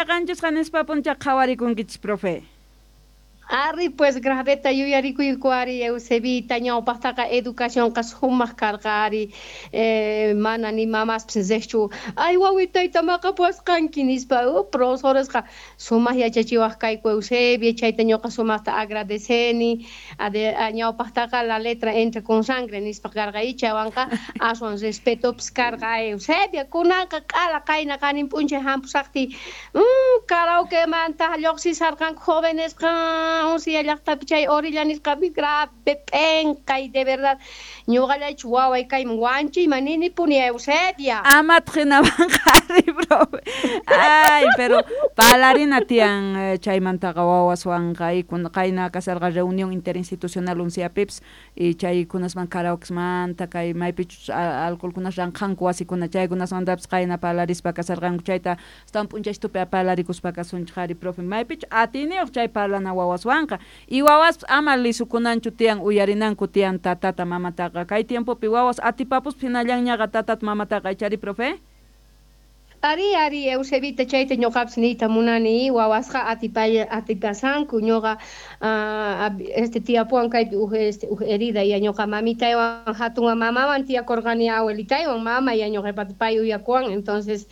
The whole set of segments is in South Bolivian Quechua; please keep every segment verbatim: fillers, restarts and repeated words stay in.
Qanchisqa nispa puncha qhawarikunkichis, profe. Ari, pues graveta yuyarikuyku ari Eusebita, ñawpaqtaqa educacionqa sumaq karqa ari, eh, mana ni mamaspis riqchu ay wawitayta maqapuwasqanki nispa, oh, profesoresqa sumaq yachachiwaq kayku Eusebia, chayta ñuqa sumaqta agradeceni. Ade ñawpaqtaqa la letra entra con sangre nispa karqa, chaywanqa aswan respetopis karqa Eusebia. Kunanqa q'ala qayna qanin p'unchay hampusaqtiy mm, karaokemanta lluqsisarqanku jovenesqa Uncia llaqtapi chay orilla nisqapi, grave p'enqay de verdad, ñuqallaychu waway kayman wanchiyman ninipuni Eusebia. Amataq hinamanqa ari, profe. Ay, pero parlarina tiyan chaymantaqa wawaswanqa, qayna kasharqa reunión interinstitucional Unciapipis y chaykunasman karaokesmanta kay maypichus alcoholkunas ranqhanku wasikuna chaykunasmantapis qayna parlarispa kasharqanku, chayta astawan p'unchaytupi parlarikuspa kasunchik ari, profe, maypichu atiyniyuq chay parlana wawaswanqa y wawaspis ama lisukunanchu tiyan, uyarinanku tiyan tatata mamataqa. Kay tiempopi wawas atipapuspa hinallanñaqa tatata mamataqa, ichari, profe? Ari, ari, Eusebita, chayta ñuqapis niyta munani, wawasqa atipay atipasanku, ñuqa uh, este tiyapuwan kaypi uj este uj herida, ya ñuqa mamitaywan hatun mamawan tiyakurqani, abuelitaywan mama ya ñuqapata pay uyakuwan, entonces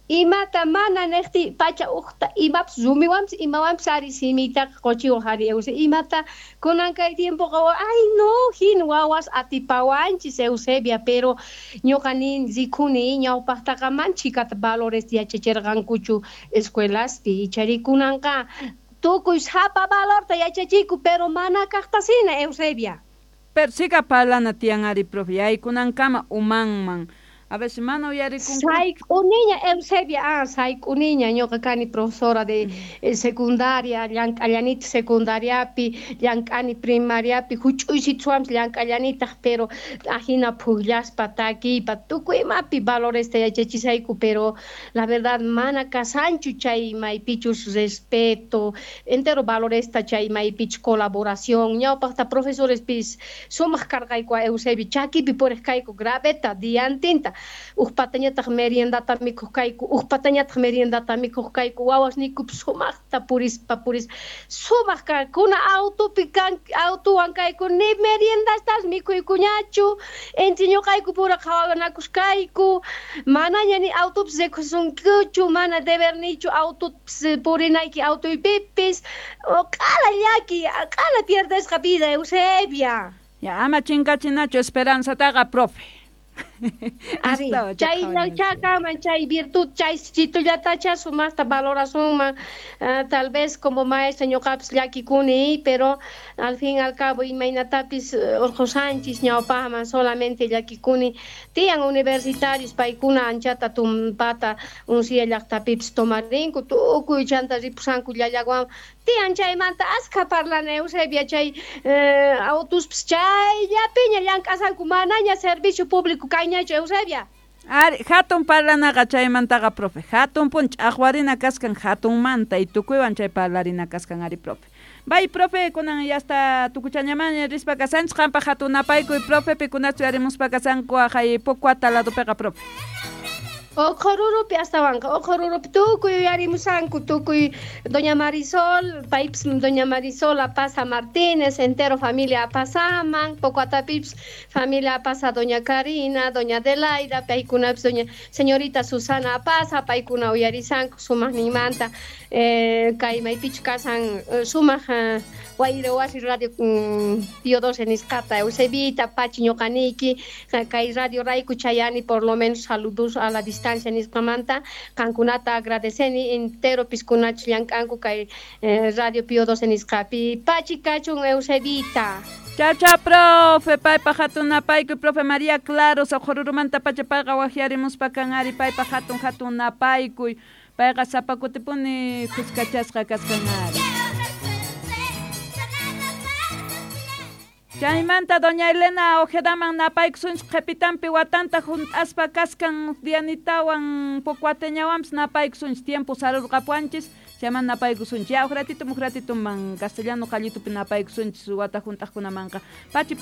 imata mana niqti pacha uqta imapas rumiwanpis imawanpis ari simiytaqa quchiwaq ari Eusebia, imata kunan kay tiempoqa ay no hin wawas atipawanchis Eusebia, pero ñuqa nin rikuni ñawpaqtaqa man chhikata valores yachachirqankuchu escuelaspi, ichari kunanqa tukuy sapa valorta yachachiku pero mana kaqtasina Eusebia. Pero sika parlana tiyan ari, profe, yaykunankama umanman. A veces mana uyarikunku. Sayk'uniña Eusebia, ah, sayk'uniña, ñuqa kani profesora de eh, secundaria, llank'allanitaq secundariapi, llank'ani primariapi, huch'uysituwanpis llank'allanitaq, pero ajina puqllaspa takiypa tukuy imapi valoresta yachachisayku, pero la verdad mana kasanchu chay maypichus respeto, entero valoresta chay maypichus colaboración, ñawpaqta profesorespis sumaq karqayku Eusebia, chakipi puriq kayku graveta diantinta, uj patañataq meriendata mikhuq kayku, uj patañataq meriendata mikhuq kayku, wawasniykupis sumaqta purispa purispa sumaq kuna autopi kan autowan kayku ni meriendastas mikhuykuñachu, entre ñuqayku pura qhawanakus kayku, manaña ni autopis rikusunkuchu, mana debernichu autopis purinayki autoypipis, q'ala llaki, q'ala pierdesqa vida Eusebia. Ya ama chinkachinachu esperanzataqa, profe. Ari, chay chakaman chay virtud chay chitullatacha sumaqta valorasunman, uh, tal vez como maestra ñuqapis llakikuni, pero al fin y al cabo imaynatapis urqusanchis ñawpaqman, solamente llakikuni tiyan universitarios paykuna anchata tumpata Uncia llaqtapipis tomarinku tukuy chanta ripusanku llallawan tiyan chaymanta askha parlana Eusebia, chay eh, autospis chayllapiña llank'asanku manaña servicio público kayñachu Eusebia. Ari, hatun parlanaqa chaymantaqa, profe, hatun pun ch'aqwarina kaskan hatunmanta y tukuywan chay parlarina kaskan ari, profe. Bay, profe, kunan ya hasta tukuchañamaña rispa kasanchis, qanpaq hatun napaykuy, profe, pikunachu yarimuspa kasanku aqhay Pocoata ladopiqa, profe. Oqhururupi astawanqa, Oqhururupi tukuy yuyarimusanku, tukuy doña Marisol, paypis doña Marisol Apaza Martínez, entero familia Apazaman, Pocoatapipis familia Apaza doña Karina, doña Adelaida, paykunapis doña señorita Susana Apaza, paykuna uyarisanku sumaqninmanta, eh, kay maypichu kasan sumaq eh, wayra wasi radio mm, Pío doce nisqata Eusebita, pachi ñuqaniyki, kay radio rayku chayani por lo menos saludos a la distancia nisqamanta, qankunata agradeceni entero piskunach llank'anku kay eh, radio Pío doce nisqapi, pachi kachun Eusebita. Chao, chao, profe, paypa hatun napaykuy, profe María Claros, Oqhururumanta pacha payqa waqyarimuspa kan ari, paypa hatun hatun napaykuy, payqa sapa kutipuni kuskachasqa kaskan ari. Chaymanta doña Elena Ojedaman napaykusunchik qhipitanpi watanta hunt'aspa kaskan Dianitawan Pocoateñawanpis napaykusunchik tiempo sarurqapuwanchis, chayman napaykusunchik. Ya, uj ratito, uj ratito man castellano qallitupi napaykusunchik wata hunt'aqkunamanqa. Pachi